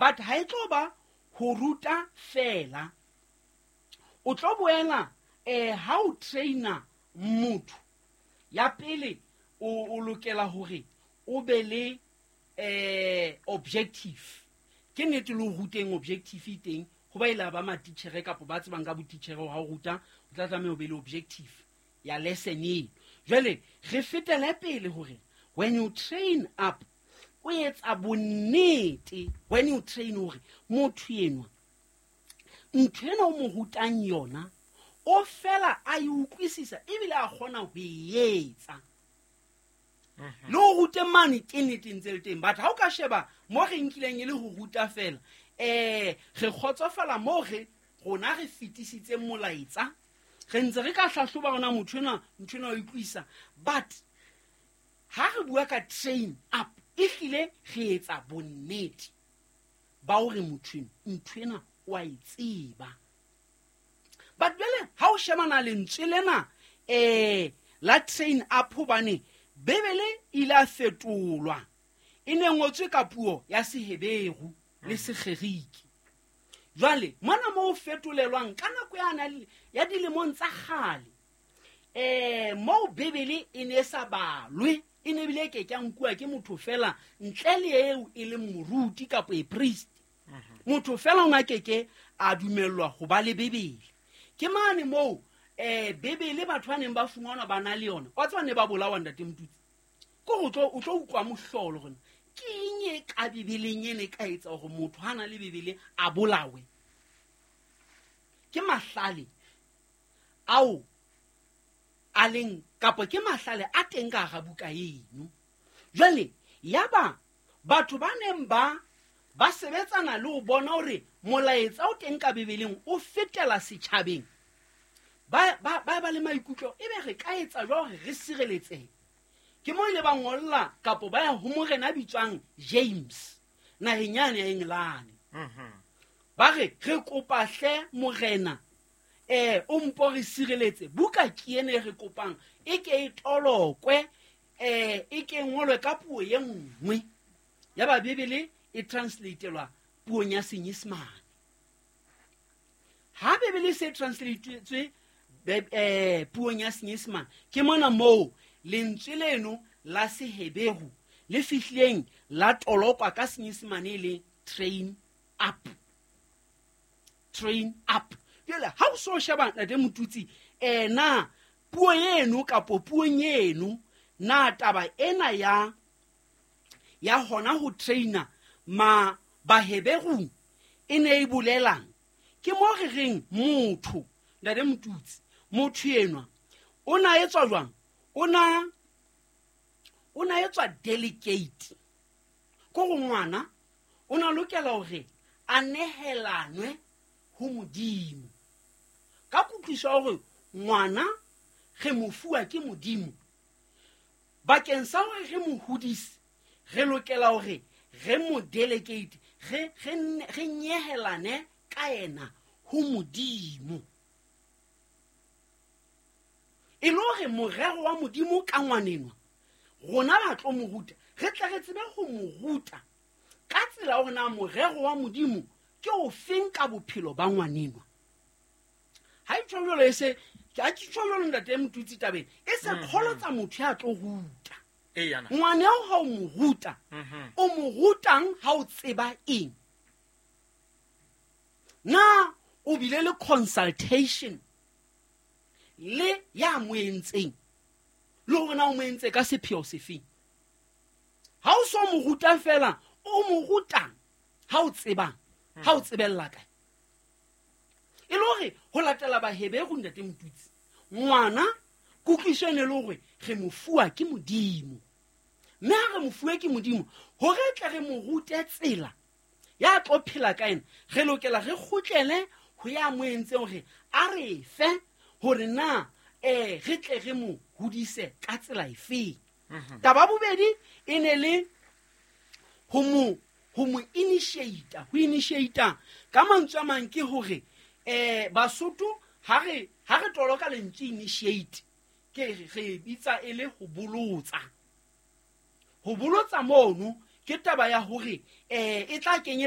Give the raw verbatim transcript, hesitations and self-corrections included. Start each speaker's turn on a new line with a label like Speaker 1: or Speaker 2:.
Speaker 1: But ha e tlo ba ho ruta fela, o tlo boela um ha o traina motho ya pele, o o lokela hore o be le eh objective. Ke nnete le ho ruteng objective e teng, ho ba ile ba matitjhere kapa ba tsebang ka botitjhere, ha o ruta o tla tlameha o be le objective ya lesson eno. Jwale re fetele pele hore when you train up, o etsa bonnete when you train hore motho enwa, ntho ena o mo rutang yona, o fela a e utlwisisa ebile a kgona ho e etsa. Le ho rute mane ke nnete ntse le teng, but ha o ka sheba mo re nkileng e le ho ruta fela, um re kgotsofala moo re rona re fetisitseng molaetsa, re ntse re ka hlahloba ona motho enwa, ntho ena o utlwisa. But ha re bua ka train up, ehlile re etsa bonnete ba hore motho eno ntho ena o a e tseba. But jwale ha o shebana lentswe lena um la train up, hobane Bebele e ile a fetolwa, e ne ngotswe ka puo ya Seheberu le Segerike. Jwale mona mo o fetolelwang ka nako yana ya dilemong tsa kgale, um moo Bebele e ne e sa balwe, e ne ebile e ke ke nkuwa ke motho fela ntle le eo e leng moruti kapa e priest. Motho fela o na keke a dumellwa ho ba le Bebele. Ke mane moo um Bebele batho ba neng ba fumanwa ba na le yona, wa tseba, ne ba bolawa, ntate Motutsi. Ke gore o tlo o tlo utlwa mohlolo gore ke eng e ka Bebeleng ene e ka etsa gore motho ha na le Bebele a bolawe. Ke mahlale ao a leng kapa ke mahlale a teng ka hara buka eno. Jwale yaba batho ba neng ba ba sebetsana le ho bona hore molaetsa o teng ka Bebeleng o fetela setjhabeng, ba ba ba ba le maikutlo ebe re ka etsa jwang hore re sireletsehe. Ke mo ile ba ngolla kapo ba ya ho morena a bitswang James naheng yane ya Engelane, ba re re kopa hle morena, eh o mpo re sireletse, buka ke ene e re kopang e ke e tolokwe, eh e ke ngolwe ka puo ye nngwe. Ya ba Bebele e translatelwa puong ya Senyesemane. Ha Bebele e se translatetswe eh puong ya Senyesemane, ke mona moo lentswe leno la Seheberu le fihlileng la tolokwa ka Senyesemane e le train up, train up. Jwale ha o so sheba, ntate Motutsi, eh na puo eno kapo puong eno na taba ena ya ya hona ho traina ma Baheberung e ne e bolelang? Ke mo re reng motho, ntate Motutsi, motho enwa o na etswa jwang? O na o na etswa delegate ko go ngwana, o na lokela hore a nehelanwe ho Modimo ka kutlwiso ya hore ngwana re mo fuwa ke Modimo. Bakeng sa hore re mo hodise, re lokela hore re mo delegate, re re re nyehelane ka yena ho Modimo, e le hore morero wa Modimo ka ngwanenwa rona ba tlo mo ruta, re tle re tsebe ho mo ruta ka tsela hore na morero wa Modimo ke o feng ka bophelo ba ngwanenwa. Ha e tjho jwalo, e se ke a ke tjho jwalo, ntate Motutsi, tabeng e se kgolotsa motho ya tlo ruta
Speaker 2: Eyana.
Speaker 1: ngwana eo. Ha o mo ruta, o mo rutang ha o tseba eng? Na o bile le consultation le ya mo entseng, le hore na o mo entse ka sepheo sefeng? Ha o so mo ruta fela, o mo rutang ha o tsebang, ha o tsebella kae? E le hore ho latela Baheberu, ntate Motutsi, ngwana kutlwiso e ne le hore re mo fuwa ke Modimo, mme ha re mo fuwe ke Modimo, hore tle re mo rute tsela ya tlo phela ka ena, re lokela re kgutlele ho ya mo entseng hore a re fe hore na eh re tle re mo hodise ka tsela efeng. Taba bobedi e ne le ho mo ho mo initiate. Ho initiate ka mantswe a mang ke hore eh Basotho ha re ha re toloka lentswe initiate, ke re re bitsa e le ho bolotsa. Ho bolotsa mono ke taba ya hore eh e tla kenyele